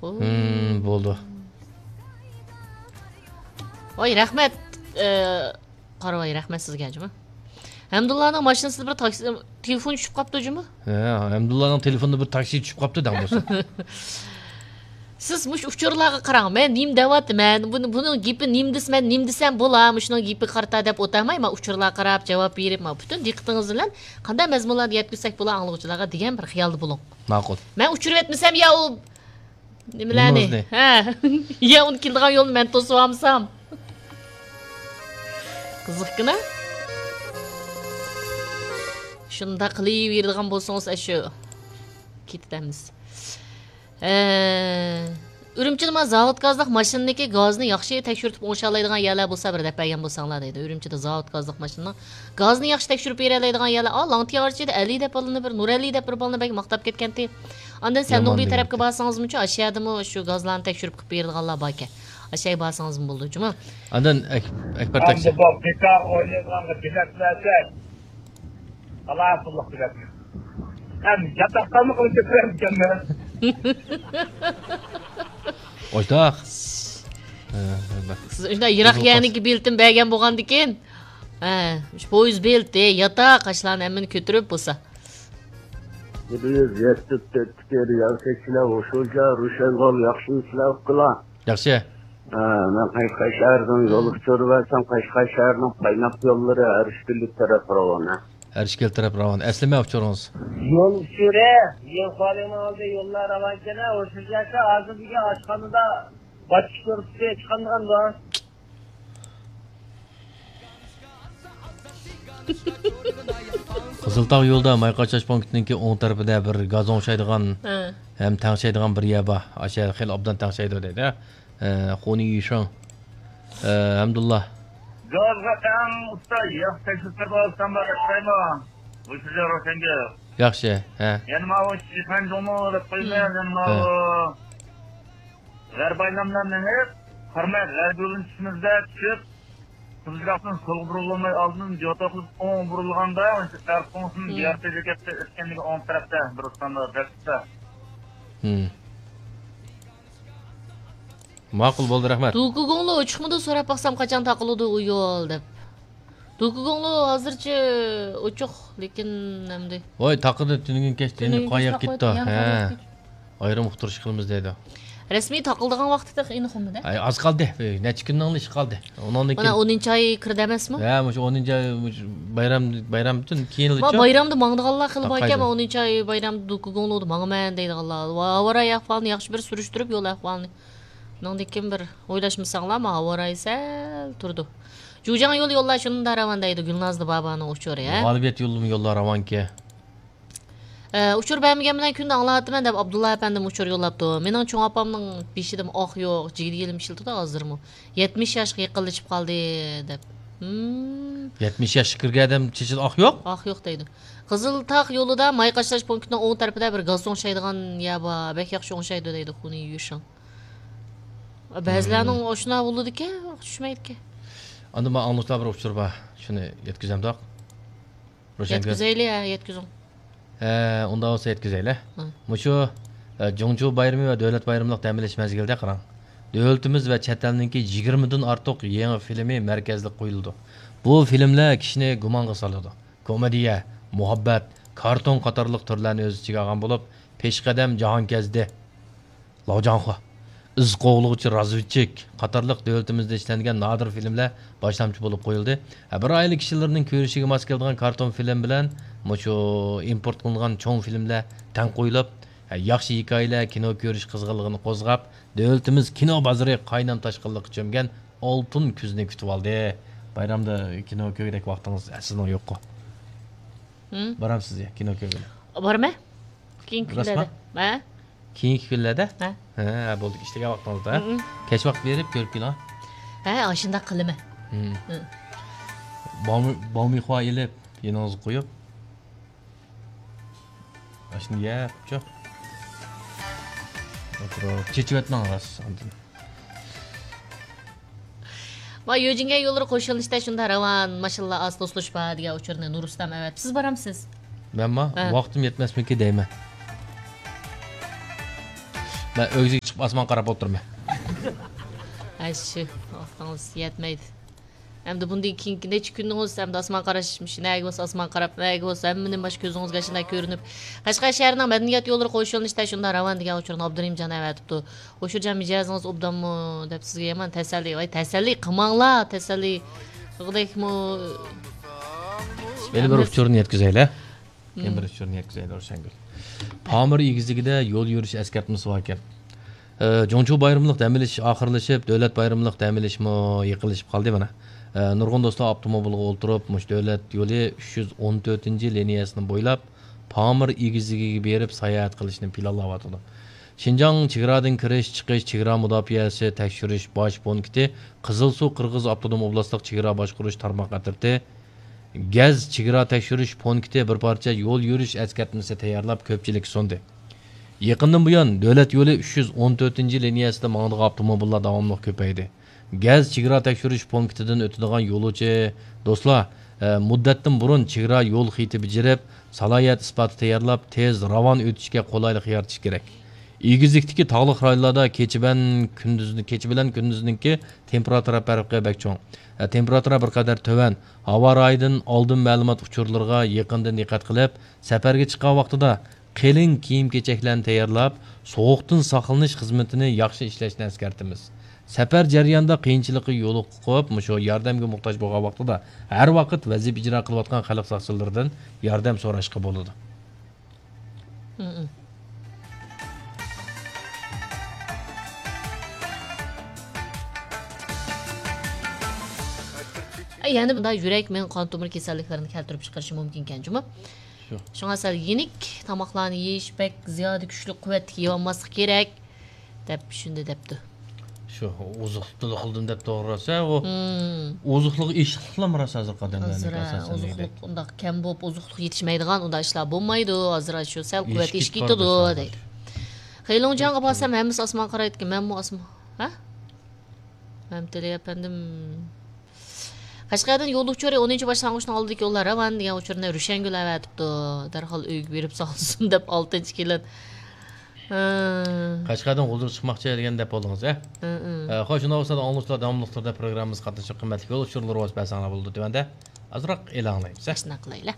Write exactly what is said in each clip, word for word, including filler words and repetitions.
ھىم، بولدى. ۋاي، رەھمەت. ئى، قارىۋاي، رەھمەت سىزگە جۇمۇ. ھەمدۇللانىڭ ماشىنىسىدا بىر تاكسى، تېلېفون چۈشۈپ قاپتۇ جۇمۇ. ھە، ھەمدۇللانىڭ تېلېفونىدا بىر تاكسى چۈشۈپ قاپتۇ دەڭ بولسا. سىز مۇشۇ ئۇچۇرلارغا قاراڭ. مەن نېمە دەۋاتىمەن؟ بۇنى، بۇنىڭ گېپى نېمە دېسە، مەن نېمە دېسەم بولا، مۇشۇنىڭ گېپىگە قارىتا دەپ ئولتۇرماي، ما ئۇچۇرلارغا قاراپ جاۋاب بېرىپ، ما پۈتۈن دىققىتىڭىز بىلەن قانداق مەزمۇنلارنى يەتكۈزسەك بولا ئاڭلىغۇچىلارغا دېگەن بىر خىيالدا بولۇڭ. ماقۇل. مەن ئۇچۇرۇۋەتمىسەم يا ئۇ نېمىلەرنى؟ نېمىڭىزنى؟ ھە. يا ئۇنى كېلىدىغان يولنى مەن توسۇۋالمىسام. قىزىقكىنا. شۇنداق قىلىۋېرىدىغان بولسىڭىز، ئاشۇ كېتىدىمىز. ئە، ئۈرۈمچىدە مانا زاۋۇت گازلىق ماشىنىنىڭكى گازىنى ياخشى تەكشۈرتۈپ ئوڭشالايدىغان يەرلەر بولسا بىر دەپ بەرگەن بولساڭلار دەيدۇ. ئۈرۈمچىدە زاۋۇت گازلىق ماشىنىنىڭ گازىنى ياخشى تەكشۈرۈپ بېرەلەيدىغان يەرلەر. ئا، لاڭتىيارچىدا ئەلى دەپ بالىنى بىر، نۇرئەلى دەپ بىر بالىنى بەك ماختاپ كەتكەنتى. ئاندىن سەندۇڭبى تەرەپكە بارسىڭىزمۇچۇ، ئاشۇ يەردىمۇ شۇ گازلارنى تەكشۈرۈپ قىلىپ بېرىدىغانلار باركەن. ئاشۇ يەرگە بارسىڭىزمۇ بولىدۇ جۇمۇ. ئاندىن ئەك-، ئەكبەر تاكسى. ئەمدى بۇ بىكار ئوينايدىغانغا بېلەت بەرسەك، خالاس بولدۇق بىلەت. ھەم ياتاقتانمۇ قىلىپ كەتمەمكەنمەن. ئويتاق. ھە، ھە، بەك. سىز شۇنداق يىراق يەرنىڭكى بېلىتىنى بەرگەن بولغاندىكىن، ھە، شۇ پويىز بېلىتى، ياتاق، ئاشۇلارنى ھەممىنى كۆتۈرۈپ بولسا. بىز يەتتە تۆتتىكى رېئال تەكسىلەر ھوشۇرجا، روشەنگۈل ياخشى ئىشلەپ قىلا. ياخشى. ھە، مەن قەشقەر شەھىرىدىن يول ئۇچۇرى بەرسەم، قەشقەر شەھىرىنىڭ قايناق يوللىرى ھەرىشكىلى تەرەپ راۋان، ھە. ھەرىشكىلى تەرەپ راۋان. ئەسلىمە ئۇچۇرىڭىز؟ يول ئۇچۇرى، يول خالىنىڭ ئالدى يوللار راۋانكەن، ھە، ھوشۇرجاكا ھازىر بۈگۈن ئاشخانىدا باش كۆرسىتى چىققانغان بار. قىزىلتاغ يولىدا ماي قاچىلاش پونكىتىنىڭكى ئوڭ تەرىپىدە بىر گاز ئوڭشايدىغان ھە. ھەم تەڭشەيدىغان بىر يەر بار. ئاشۇ يەر خېلى ئوبدان تەڭشەيدۇ دەيدۇ. ھە، خۇنى يۈشېڭ. ھە، ھەمدۇللا. گازغا ئەڭ ئۇستا ياخشى تەكلىپلەر بار ئۇستام بار دەپ قويما. ھوشۇرجان روشەنگۈل. ياخشى، ھە. يەنە ماۋۇ شىفەنجۇڭمۇ دەپ قويما، ھە. يەنە ماۋۇ غەربىي ئايلانمىلارنى مېڭىپ، قارىماي غەربىي يولدىن چۈشىمىزدە چۈشۈپ، قىزىلجاقتىن سولغا بۇرۇلماي ئالدىن جوتوقلۇق ئوڭ بۇرۇلغاندا، ئەرقوڭسىن ھىم. بىئارتى بېكەتتە ئۆتكەندىكى ئوڭ تەرەپتە بىر ئۇستامدا دەپتە. ھىم. ماقۇل بولدى، رەھمەت. دوكۇگۇڭلۇ ئوچۇقمىدۇ سوراپ باقسام، قاچان تاقىلىدۇ ئۇ يول دەپ. دوكۇگۇڭلۇ ھازىرچە ئوچۇق، لېكىن ئەمدى. ۋاي، تاقىدى تۈنۈگۈن كەچتە، ئەمدى تۈنۈگۈن قاياق كەچتە كېتىدۇ؟ تاقىدى، يەنە ھە. قاياق كېتىدۇ؟ ئايرىم ئۇقتۇرۇش قىلىمىز دەيدۇ. رەسمىي تاقىلىدىغان ۋاقتى تېخى ئېنىق بولمىدى. ئاي، ئاز قالدى. نەچچە كۈننىڭ ئىشى قالدى. ئۇنىڭدىن مانا كېيىن ئونىنچى ئاي كىردى ئەمەسمۇ؟ ھە، مۇشۇ ئونىنچى ئاي، مۇشۇ بايرام، بايرامدىن كېيىنلىچۇ؟ ما بايرامدا ماڭىدىغانلار خېلى باركەن، تاقايدۇ. ما ئونىنچى ئاي بايرامدا دوكۇگۇڭلۇدا ماڭىمەن دەيدىغانلار. ھاۋا رايى ئەھۋالىنى ياخشى بىر سۈرۈشتۈرۈپ يول ئەھۋالىنى. ئۇنىڭدىن كېيىن بىر ئويلاشمىساڭلار، ما ھاۋا رايى سەل تۇرىدۇ. جۇجياڭ يولى يوللار شۇنداق راۋان دەيدۇ، گۈلنازلى بابانىڭ ئۇچۇرى، ھە؟ غالىبىيەت يولىمۇ يوللار راۋانكى. ئە، ئۇچۇر بەرمىگەن بىلەن كۈندە ئاڭلاۋاتىمەن دەپ ئابدۇللا ئەپەندىم ئۇچۇر يوللاپتۇ. مېنىڭ چوڭ ئاپامنىڭ بېشىدىمۇ ئاق يوق، جىگدە يېلىم ئىشلىتىدۇ ھازىرمۇ. يەتمىش ياشقا يېقىنلىشىپ قالدى دەپ. ھىم. يەتمىش ياشقا كىرگەن ئادەم چېچىدا ئاق يوق؟ ئاق يوق دەيدۇ. قىزىلتاغ يولىدا ماي قاچىلاش پونكىتىنىڭ ئوڭ تەرىپىدە بىر گاز ئوڭشايدىغان يەر بار. بەك ياخشى ئوڭشايدۇ دەيدۇ خۇنى يۈشىڭ. بەزىلەرنىڭ ئاشۇنداق بولىدىكەن، چۈشمەيدىكەن. ئاندىن ماڭا ئاڭلىغۇچىلار بىر ئۇچۇر بار. شۇنى يەتكۈزەمدۇق؟ روشەنگۈل. يەتكۈزەيلى، ھە، يەتكۈزۈڭ. ھە، ئۇنداق بولسا يەتكۈزەيلى. ھە. مۇشۇ، ئە، جۇڭچۇ بايرىمى ۋە دۆلەت بايرىملىق دەم ئېلىش مەزگىلىدە قاراڭ. دۆلىتىمىز ۋە چەت ئەلنىڭكى يىگىرمىدىن ئارتۇق يېڭى فىلىمى مەركەزلىك قويۇلىدۇ. بۇ فىلىملەر كىشىنى گۇمانغا سالىدۇ. كومېدىيە، مۇھەببەت، كارتون قاتارلىق تۈرلەرنى ئۆز ئىچىگە ئالغان بولۇپ، پېشقەدەم جاھانكەزدى، لاۋجاڭخۇا، ئىز قوغلىغۇچى رازۋېدچىك قاتارلىق دۆلىتىمىزدە ئىشلەنگەن نادىر فىلىملەر باشلامچى بولۇپ قويۇلدى. ھە، بىر ئائىلە كىشىلىرىنىڭ كۆرۈشىگە ماس كېلىدىغان كارتون فىلىم بىلەن مۇشۇ ئىمپورت قىلىنغان چوڭ فىلىملەر تەڭ قويۇلۇپ، ھە، ياخشى ھېكايىلەر كىنو كۆرۈش قىزغىنلىقىنى قوزغاپ، دۆلىتىمىز كىنو بازىرى قاينام تاشقىنلىققا چۆمگەن ئالتۇن كۈزنى كۈتۈۋالدى. بايرامدا كىنو كۆرگۈدەك ۋاقتىڭىز سىزنىڭ يوققۇ؟ ھىم؟ بارامسىز يا كىنو كۆرگىلى؟ بارىمەن. كېيىنكى كۈنلەردە. ھە؟ كېيىنكى كۈنلەردە؟ ھە. ھە، بولدى، ئىشلىگەن ۋاقتىڭىزدا، ھە؟ ھىم. كەچ ۋاقىت بېرىپ كۆرۈپ كېلىڭ. ھە، ئاشۇنداق قىلىمەن. ھىم. ھىم. بامۇ-، بامۇيخۇا ئېلىپ، يېنىڭىزغا قويۇپ. ئاشۇنى يەپچۇ. ئولتۇرۇپ، چېچىۋەتمەڭ راست ئاندىن. ما يۆجىنگەن يوللىرى قوشۇلۇشتا شۇنداق راۋان، ماشىنىلار ئاز توسۇلۇش بار دېگەن ئۇچۇرنى نۇرۇسلام ئەۋەتىپسىز، بارامسىز؟ مەنما ھە. ۋاقتىم يەتمەسمىكى دەيمەن. مەن ئۆگزىگە چىقىپ ئاسمانغا قاراپ ئولتۇرىمەن. ئەششى، ۋاقتىڭىز يەتمەيدۇ. ئەمدى بۇندىن كېيىنكى نەچچە كۈنىڭىز ئەمدى ئاسمانغا قاراش، مۇشۇ نەگە بولسا ئاسمانغا قاراپ، نەگە بولسا ھەممىنى مانا شۇ كۆزىڭىزگە ئاشۇنداق كۆرۈنۈپ. قەشقەر شەھىرىنىڭ مەدەنىيەت يوللىرى قوش يۆنىلىشىدە شۇنداق راۋان دېگەن ئۇچۇرنى ئابدۇرېھىمجان ئەۋەتىپتۇ. ھوشۇرجان، مىجەزىڭىز ئوبدانمۇ دەپ سىزگە يامان تەسەللى. ۋاي، تەسەللى قىلماڭلار، تەسەللى قىلغۇدەكمۇ. يەنە بىر ئۇچۇرنى يەتكۈزەيلى. يەنە بىر ئۇچۇرنى يەتكۈزەيلى، روشەنگۈل. پامىر ئېگىزلىكىدە يول يۈرۈش ئەسكەرتمىسى باركەن. ئە، جۇڭچۇ بايرىملىق دەم ئېلىش ئاخىرلىشىپ، دۆلەت بايرىملىق دەم ئېلىشمۇ يېقىنلىشىپ قالدى مانا. ئە، نۇرغۇن دوستلار ئاپتوموبىلغا ئولتۇرۇپ، مۇشۇ دۆلەت يولى ئۈچ يۈز ئون تۆتىنچى لىنىيەسىنى بويلاپ، پامىر ئېگىزلىكىگە بېرىپ ساياھەت قىلىشنى پىلانلاۋاتىدۇ. شىنجاڭ چېگرادىن كىرىش، چىقىش، چېگرا مۇداپىئەسى تەكشۈرۈش باش پونكىتى، قىزىلسۇ قىرغىز ئاپتونوم ئوبلاستلىق چېگرا باشقۇرۇش تارماق ئەترىتى، گەز چېگرا تەكشۈرۈش پونكىتى بىر پارچە يول يۈرۈش ئەسكەرتمىسى تەييارلاپ، كۆپچىلىككە سۇندى. يېقىندىن بۇيان، دۆلەت يولى ئۈچ يۈز ئون تۆتىنچى لىنىيەسىدە ماڭىدىغان ئاپتوموبىللار داۋاملىق كۆپەيدى. گەز چېگرا تەكشۈرۈش پونكىتىدىن ئۆتىدىغان يولۇچى دوستلار، ئە، مۇددەتتىن بۇرۇن چېگرا يول خېتى بېجىرىپ، سالاھىيەت ئىسپاتى تەييارلاپ، تېز، راۋان ئۆتۈشكە قولايلىق يارىتىش كېرەك. ئېگىزلىكتىكى تاغلىق رايونلاردا كېچە بەن كۈندۈزنى، كېچە بىلەن كۈندۈزنىڭكى تېمپېراتۇرا پەرقى بەك چوڭ. ئە، تېمپېراتۇرا بىر قەدەر تۆۋەن. ھاۋا رايىدىن ئالدىن مەلۇمات ئۇچۇرلىرىغا يېقىندىن دىققەت قىلىپ، سەپەرگە چىققان ۋاقتىدا قېلىن كىيىم-كېچەكلەرنى تەييارلاپ، سوغۇقتىن ساقلىنىش خىزمىتىنى ياخشى ئىشلەشنى ئەسكەرتىمىز. سەپەر جەريانىدا قىيىنچىلىققا يولۇقۇپ، مۇشۇ ياردەمگە موھتاج بولغان ۋاقتىدا ھەر ۋاقىت ۋەزىپە ئىجرا قىلىۋاتقان خەلق ساقچىلىرىدىن ياردەم سوراشقا بولىدۇ. ئەي، يەنە بۇنداق يۈرەك، مېڭە، قان تومۇر كېسەللىكلىرىنى كەلتۈرۈپ چىقىرىشى مۇمكىنكەن جۇمۇ. شۇ. شۇڭا سەل يېنىك تاماقلارنى يېيىش، بەك زىيادە كۈچلۈك قۇۋۋەتلىك يەۋالماسلىق كېرەك، دەپ شۇنداق دەپتۇ. شۇ، ئوزۇقلۇق تولا قىلدىم دەپ توغرا روسا، ئۇ ئوزۇقلۇق ئېشىقلىقلام راست ھازىرقى ئادەملەرنىڭ ئاساسەن ئوزۇقلۇق ئۇنداق كەم بولۇپ، ئوزۇقلۇق يېتىشمەيدىغان ئۇنداق ئىشلار بولمايدۇ. ھازىر شۇ سەل قۇۋۋەت ئېشىپ كېتىدۇ، دەيدۇ. خېلوڭجياڭغا بارسام، ھەممىسى ئاسمانغا قارايدىكەن. مەنمۇ ئاسمان، ھە؟ مەمتىلى ئەپەندىم. قەشقەردىن يول ئۇچۇرى، ئونىنچى باشلانغۇچنىڭ ئالدىدىكى يوللار راۋان دېگەن ئۇچۇرنى روشەنگۈل ئەۋەتىپتۇ. دەرھال ئۆيگە بېرىپ سالسۇن دەپ، ئالتىنچى كېلىن. ھە. قەشقەردىن غۇلجىغا چىقماقچى دېگەن دەپ بولدىڭىز، ھە؟ ھە، ھە. ئە، خوش، شۇنداق بولسا ئاڭلىغۇچىلار داۋاملىق تۈردە پروگراممىمىزغا قاتنىشىپ، قىممەتلىك يول ئۇچۇرلىرى بولسا بەرسەڭلار بولىدۇ تۆۋەندە. ئازراق ئېلان قىلايمىز، ھە؟ شۇنداق قىلايلى.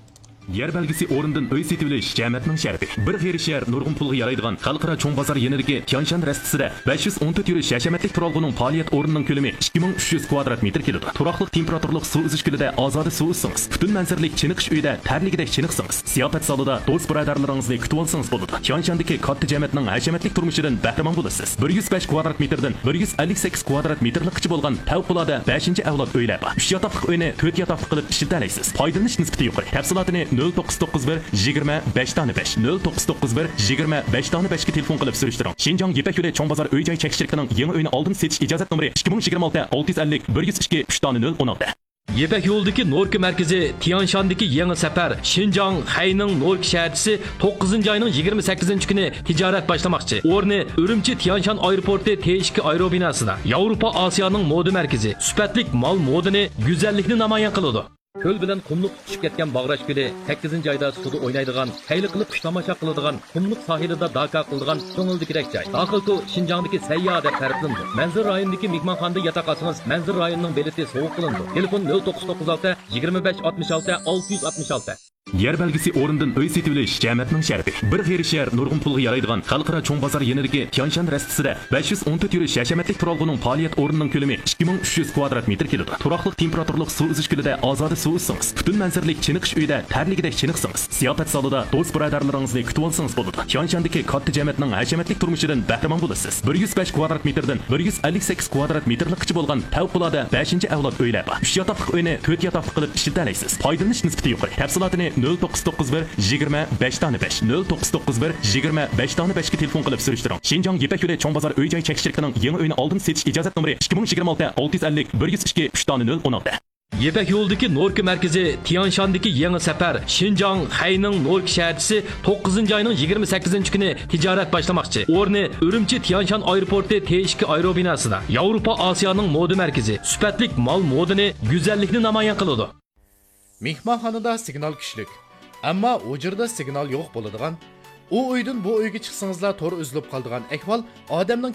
يەر بەلگىسى ئورنىدىن ئۆي سېتىۋېلىش جەمەتنىڭ شەرىپى. بىر غېرىب شەھەر نۇرغۇن پۇلغا يارايدىغان خەلقئارا چوڭ بازار يېنىدىكى تيانشان رەستىسىدە بەش يۈز ئون تۆت يۈرۈش ھەشەمەتلىك تۇرالغۇنىڭ پائالىيەت ئورنىنىڭ كۆلىمى ئىككى مىڭ ئۈچ يۈز كۋادرات مېتىر كېلىدۇ. تۇراقلىق تېمپېراتۇرلۇق سۇ ئۈزۈش كۆلىدە ئازادە سۇ ئۈزسىڭىز، پۈتۈن مەنزىرىلىك چېنىقىش ئۆيىدە تەرلىگۈدەك چېنىقسىڭىز، زىياپەت زالىدا دوست-بۇرادەرلىرىڭىزنى كۈتۈۋالسىڭىز بولىدۇ. تيانشاندىكى كاتتا جەمەتنىڭ ھەشەمەتلىك تۇرمۇشىدىن بەھرىمەن بولىسىز. بىر يۈز بەش كۋادرات مېتىردىن بىر يۈز ئەللىك سەككىز كۋادرات مېتىرلىققىچە بولغان پەۋقۇلئاددە بەشىنچى ئەۋلاد ئۆيلەر بار. ئۈچ ياتاقلىق ئۆينى تۆت ياتاقلىق قىلىپ ئىشلىتەلەيسىز. پايدىلىنىش نىسبىتى يۇقىرى. تەپسىلاتىنى نۆل توققۇز توققۇز بىر، يىگىرمە، بەش دانە بەش، نۆل توققۇز توققۇز بىر، يىگىرمە، بەش دانە بەشكە تېلېفون قىلىپ سۈرۈشتۈرۈڭ. شىنجاڭ يىپەك يولى چوڭ بازار ئۆي جاي چەكلىك شىركىتىنىڭ يېڭى ئۆينى ئالدىن سېتىش ئىجازەت نومۇرى ئىككى مىڭ يىگىرمە ئالتە، ئالتە يۈز ئەللىك، بىر يۈز ئىككى، ئۈچ دانە نۆل ئون ئالتە. يىپەك يولىدىكى نوركا مەركىزى تيانشاندىكى يېڭى سەپەر شىنجاڭ خەينىڭ نوركا شەھەرچىسى توققۇزىنچى ئاينىڭ يىگىرمە سەككىزىنچى كۈنى تىجارەت باشلىماقچى. ئورنى ئۈرۈمچى تيانشان ئايروپورتى تې ئىككى ئايروبىناسىدا. ياۋروپا ئاسىيانىڭ مودا مەركىزى. سۈپەتلىك مال مودىنى، گۈزەللىكنى نامايان قىلىدۇ. كۆل بىلەن قۇملۇق تۇتۇشۇپ كەتكەن باغراش كۆلى سەككىزىنچى ئايدا سۇدا ئوينايدىغان، خەيلى قىلىپ قۇش تاماشا قىلىدىغان، قۇملۇق ساھىلىدا داكا قىلىدىغان كۆڭۈلدىكىدەك جاي. داخىلكو شىنجاڭدىكى سەيياھ دەپ تەرىپلىنىدۇ. مەنزىرە رايونىدىكى مېھمانخانىدا ياتاق ئالسىڭىز، مەنزىرە رايونىنىڭ بېلىتى سوۋغا قىلىنىدۇ. تېلېفون نۆل توققۇز توققۇز ئالتە، يىگىرمە بەش ئاتمىش ئالتە، ئالتە يۈز ئاتمىش ئالتە. يەر بەلگىسى ئورنىدىن ئۆي سېتىۋېلىش جەمەتنىڭ شەرىپى. بىر غېرىب شەھەر نۇرغۇن پۇلغا يارايدىغان خەلقئارا چوڭ بازار يېنىدىكى تيانشان رەستىسىدە بەش يۈز ئون تۆت يۈرۈش ھەشەمەتلىك تۇرالغۇنىڭ پائالىيەت ئورنىنىڭ كۆلىمى ئىككى مىڭ ئۈچ يۈز كۋادرات مېتىر كېلىدۇ. تۇراقلىق تېمپېراتۇرلۇق سۇ ئۈزۈش كۆلىدە ئازادە سۇ ئۈزسىڭىز، پۈتۈن مەنزىرىلىك چېنىقىش ئۆيىدە تەرلىگۈدەك چېنىقسىڭىز، زىياپەت زالىدا دوست-بۇرادەرلىرىڭىزنى كۈتۈۋالسىڭىز بولىدۇ. تيانشاندىكى كاتتا جەمەتنىڭ ھەشەمەتلىك تۇرمۇشىدىن بەھرىمەن بولىسىز. بىر يۈز بەش كۋادرات مېتىردىن بىر يۈز ئەللىك سەككىز كۋادرات مېتىرلىققىچە بولغان پەۋقۇلئاددە بەشىنچى ئەۋلاد ئۆيلەر بار. ئۈچ ياتاقلىق ئۆينى تۆت ياتاقلىق قىلىپ ئىشلىتەلەيسىز. پايدىلىنىش نىسبىتى يۇقىرى. تەپسىلاتىنى نۆل توققۇز توققۇز بىر، يىگىرمە، بەش دانە بەش، نۆل توققۇز توققۇز بىر، يىگىرمە، بەش دانە بەشكە تېلېفون قىلىپ سۈرۈشتۈرۈڭ. شىنجاڭ يىپەك يولى چوڭ بازار ئۆي جاي چەكلىك شىركىتىنىڭ يېڭى ئۆينى ئالدىن سېتىش ئىجازەت نومۇرى ئىككى مىڭ يىگىرمە ئالتە، ئالتە يۈز ئەللىك، بىر يۈز ئىككى، ئۈچ دانە نۆل ئون ئالتە. يىپەك يولىدىكى نوركا مەركىزى تيانشاندىكى يېڭى سەپەر شىنجاڭ خەينىڭ نوركا شەھەرچىسى توققۇزىنچى ئاينىڭ يىگىرمە سەككىزىنچى كۈنى تىجارەت باشلىماقچى. ئورنى ئۈرۈمچى تيانشان ئايروپورتى تې ئىككى ئايروبىناسىدا. ياۋروپا ئاسىيانىڭ مودا مەركىزى. سۈپەتلىك مال مودىنى، گۈزەللىكنى نامايان قىلىدۇ. مېھمانخانىدا سىگنال كۈچلۈك، ئەمما ھۇجرىدا سىگنال يوق بولىدىغان، ئۇ ئۆيدىن بۇ ئۆيگە چىقسىڭىزلا تور ئۈزۈلۈپ قالىدىغان ئەھۋال ئادەمنىڭ